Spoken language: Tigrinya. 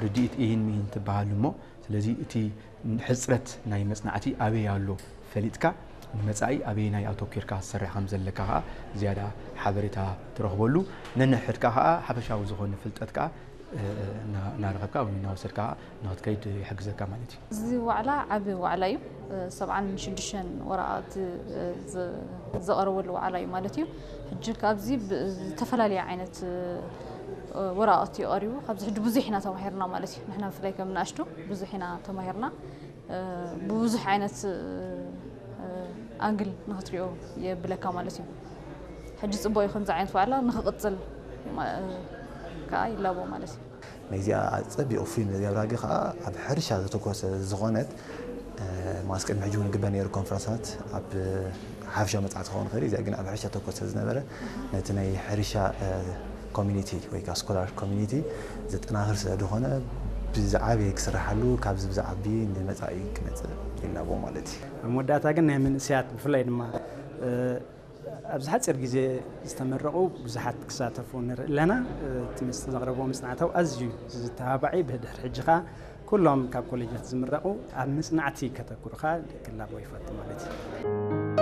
ርድኢት ኢሂን ምሂን ትበሃል እሞ፣ ስለዚ እቲ ሕፅረት ናይ መፅናዕቲ ኣበይ ኣሎ ፈሊጥካ፣ ንመፃኢ ኣበየናይ ኣተኲርካ ክትሰርሕ ከም ዘለካ ከዓ ዝያዳ ሓበሬታ ትረኽበሉ፣ ነንሕድካ ከዓ ሓፈሻዊ ዝኾነ ፍልጠት ከዓ እናረኸብካ ወይ እናወሰድካ ንክትከይድ ይሕግዘካ ማለት እዩ። እዚ ዋዕላ ዓቢ ዋዕላ እዩ። ሰብዓን ሽዱሽተን ወረቓቕቲ ዝቐረበሉ ዋዕላ እዩ ማለት እዩ። ሕጂ ካብዚ ዝተፈላለየ ዓይነት ወረቓቕቲ እዩ ቀሪቡ። ካብዚ ሕጂ ብዙሕ ኢና ተማሂርና ማለት እዩ። ንሕና ብፍላይ ከም ንኣሽቱ ብዙሕ ኢና ተማሂርና። ብብዙሕ ዓይነት ኣንግል ንክትሪኦ የብለካ ማለት እዩ። ሕጂ ፅቡቅ እዩ ከምዚ ዓይነት ዋዕላ ንክቕፅል ከዓ ይላቦ ማለት እዩ። ነዚኣ ፀቢቑ ፊልም ዘብራጊ ከዓ ኣብ ሕርሻ ዘተኮሰ ዝኾነት ማስ ቅድሚ ሕጂ እውን ግበር ነይሩ ኮንፈረንሳት ኣብ ሓፈሻዊ መፅናዕቲ ክኸውን ይኽእል እዩ። እዚኣ ግን ኣብ ሕርሻ ተኮር ስለ ዝነበረ ነቲ ናይ ሕርሻ ኮሚኒቲ ወይ ከዓ ስኮላር ኮሚኒቲ ዘጠናኽር ስለ ዝኾነ ብዝዓበየ ክስርሓሉ ካብዚ ብዝዓቢ ንመፃኢ ክመፅእ ይላቦ ማለት እዩ። ኣብ መወዳእታ ግን ናይ መንእሰያት ብፍላይ ድማ ኣብዚ ሓፂር ግዜ ዝተመረቑ ብዙሓት ክሳተፉ ንርኢ ኣለና። እቲ ዘቕረብዎ መፅናዕታዊ ኣዝዩ ዝተባባዕ እዩ። ብድሕሪ ሕጂ ከዓ ኩሎም ካብ ኮሌጃት ዝምረቑ ኣብ መፅናዕቲ ከተኩሩ ከዓ ክላቦ ይፈቱ ማለት እዩ።